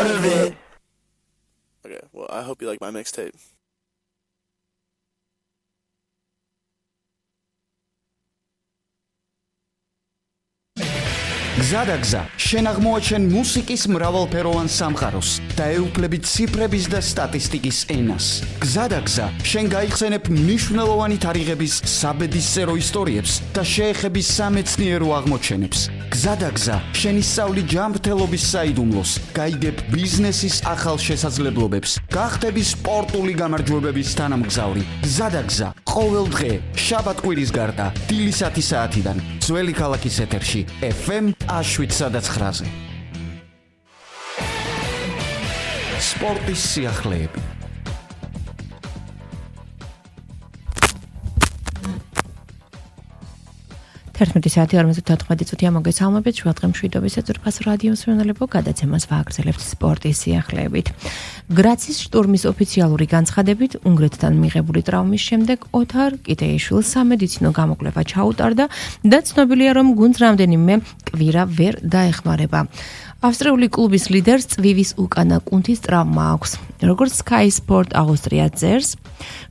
part of it. Okay, well, I hope you like my mixtape. გზადაგზა შენ აღმოაჩენ მუსიკის მრავალფეროვან სამყაროს და ეუფლები ციფრების და სტატისტიკის ენას. გზადაგზა შენ გაიხსენებ მნიშვნელოვანი თარიღების საბედისწერო ისტორიებს და შეეხები სამეცნიერო აღმოჩენებს. გზადაგზა შენ ისწავლი ჯანმრთელობის საიდუმლოს, გაიგებ ბიზნესის ახალ შესაძლებლობებს, გახდები სპორტული გამარჯვებების თანამგზავრი. გზადაგზა ყოველ დღე შაბათ-კვირის გარდა დილის 10 საათიდან ძველი ქალაქის ეთერში FM 7-9-ზე. სპორტის სიახლეები. საათი 54 წუთია მოგესალმებით შუადღე მშვიდობის ეწურფას რადიო მსმენელებო გადაცემას ვააგრძელებთ სპორტის სიახლეებით. გრაცის შტურმის ოფიციალური განცხადებით უნგრეთთან მიღებული ტრავმის შემდეგ ოთარ კიტეიშვილს სამედიცინო გამოკვლევა ჩაუტარდა და ცნობილია რომ გუნდს რამდენიმე კვირა ვერ დაეხმარება. ავსტრიული კლუბის ლიდერს წვივის უკანა კუნთის ტრავმა აქვს. როგორც Sky Sport Austria წერს,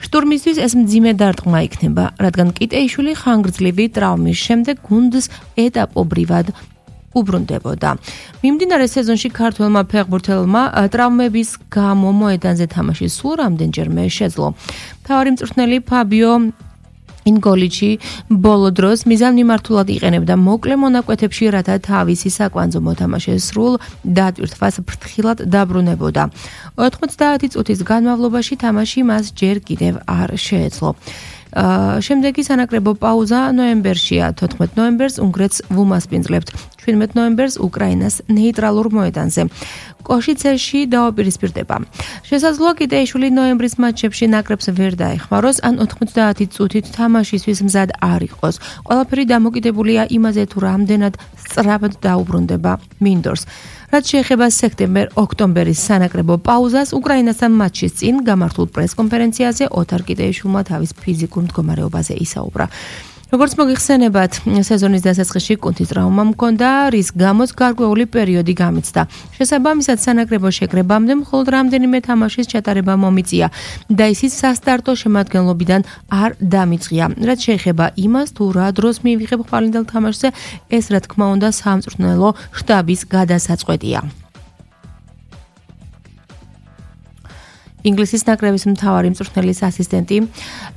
შტურმისთვის ეს მძიმე დარტყმა იქნება, რადგან კიტეიშვილი ხანგრძლივი ტრავმის შემდეგ გუნდს ეტაპობრივად უბრუნდებოდა. მიმდინარე სეზონში ქართველმა ფეხბურთელმა ტრავმების გამო მოედანზე თამაში სულ რამდენჯერმე შეძლო. მთავარი მწვრთნელი ფაბიო ინგოლიჩი ბოლო დროს მიზანმიმართულად იყენებდა მოკლე მონაკვეთებში, რათა თავისი საკვანძო მოთამაშე სრულ დატვირთვას ფრთხილად დაბრუნებოდა. 90 წუთის განმავლობაში თამაში მას ჯერ კიდევ არ შეეძლო. შემდეგი სანაკრებო პაუზა ნოემბერშია. 14 ნოემბერს უნგრეთს ვუმასპინძლებთ, 17 ნოემბერს უკრაინას ნეიტრალურ მოედანზე. კოშიცეში დაუპირისპირდება. შესაძლოა კიტეიშვილი ნოემბრის მატჩებში ნაკრებს ვერ დაეხმაროს, ან 90 წუთით თამაშისთვის მზად არ იყოს. ყველაფერი დამოკიდებულია იმაზე, თუ რამდენად სწრაფად დაუბრუნდება მინდორს. რაც შეეხება სექტემბერ-ოქტომბერის სანაკრებო პაუზას, უკრაინასთან მატჩის წინ გამართულ პრესკონფერენციაზე ოთარ კიტეიშვილმა თავის ფიზიკურ მდგომარეობაზე ისაუბრა. როგორც მოგიხსენებათ, სეზონის დასაწყისში კუნთის ტრავმა მქონდა, რის გამოც გარკვეული პერიოდი გამეცდა. შესაბამისად, სანაკრებო შეკრებამდე მხოლოდ რამდენიმე თამაშის ჩატარება მომიწია და ისიც სასტარტო შემადგენლობიდან არ დამიწყია. რაც შეეხება იმას, თუ რა დროს მივიღებ ხვალინდელ თამაშზე, ეს რა თქმა უნდა სამწვრთნელო შტაბის გადასაწყვეტია. ინგლისის ნაკრების მთავარი მწვრთნელის ასისტენტი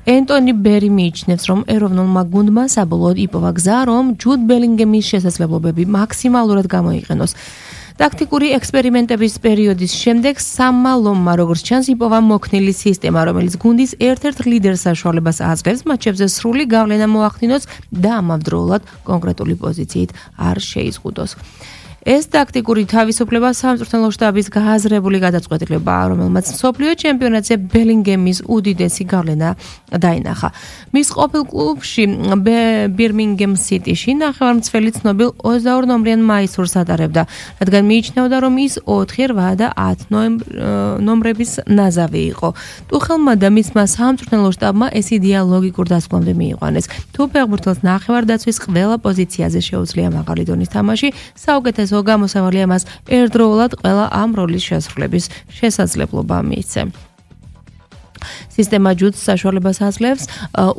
ენტონი ბერი მიიჩნევს, რომ ეროვნულმა გუნდმა საბოლოოდ იპოვა გზა, რომ ჯუდ ბელინგემის შესაძლებლობები მაქსიმალურად გამოიყენოს. ტაქტიკური ექსპერიმენტების პერიოდის შემდეგ სამალომმა, როგორც ჩანს, იპოვა მოქნილი სისტემა, რომელიც გუნდის ერთ-ერთ ლიდერს საშუალებას აძლევს მატჩებზე სრული გავლენა მოახდინოს და ამავდროულად კონკრეტული პოზიციით არ შეიზღუდოს. ეს ტაქტიკური თავისუფლება სამწვრთნელო შტაბის გააზრებული გადაწყვეტილებაა, რომელმაც მსოფლიო ჩემპიონატზე ბელინგემის უდიდესი გავლენა დაინახა. მის ყოფილ კლუბში ბირმინგემ სიტიში ნახევარმცველი ცნობილ 22 ნომრიან მაისურს ატარებდა, რადგან მიიჩნეოდა, რომ ის 4, 8 და 10 ნომრების ნაზავი იყო. ტუხელმა და მისმა სამწვრთნელო შტაბმა ეს იდეა ლოგიკურ დასკვნამდე მიიყვანეს. თუ ფეხბურთელს ნახევარდაცვის ყველა პოზიციაზე შეუძლია მაღალი დონის თამაში, საუკეთესო გამოსავალია მას ერთდროულად ყველა ამ როლის შესრულების შესაძლებლობა მიეცა. სისტემა ჯუდს საშუალებას აძლევს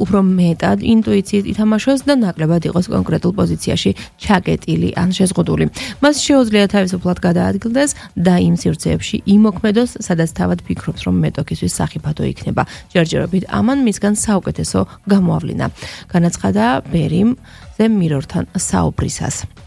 უფრო მეტად ინტუიციით ითამაშოს და ნაკლებად იყოს კონკრეტულ პოზიციაში ჩაკეტილი ან შეზღუდული. მას შეუძლია თავისუფლად გადაადგილდეს და იმ სივრცეებში იმოქმედოს, სადაც თავად ფიქრობს, რომ მეტოქისთვის სახიფათო იქნება. ჯერჯერობით ამან მისგან საუკეთესო გამოავლინა. განაცხადა ბერიმ The Mirror-თან საუბრისას.